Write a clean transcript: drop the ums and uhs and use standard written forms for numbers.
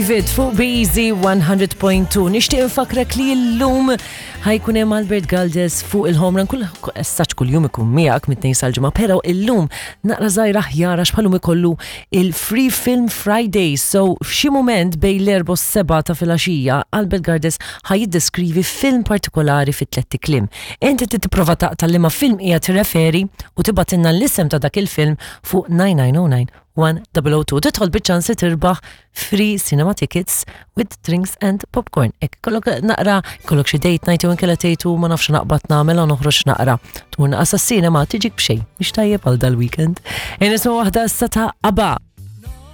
David fuq Beezy 100.2. Nixtieq infakrek li llum ħajkun hemm Albert Galdes fuq il-home run kull essaċ kull jum ikun miegħek mit-tnejn sal-ġimgħa, però illum naqra żgħira aħjar għax bħalum ikollu il-Free Film Friday. So f'xi mument bejn l-erba' u s-seba' ta' filgħaxija Albert Galdes ħaj jiddeskrivi film partikolari fi tlett ikliem. Inti trid tipprova taqta' liema film qiegħed tirreferi u tibgħatilna l-isem ta' dak il-film fuq 9909 1002. Tidħol biċ-ċans li tirbaħ free cinema tickets with drinks and popcorn. Ek kollok naqra, kollok xi date night jew inkella tgħidu ma nafx naqbad nagħmel noħroġ naqra. Tmur naqas cinema tiġik b'xejn. Mhix tajjeb għal dal-weekend. Nisma' waħda issa ta' ABBA.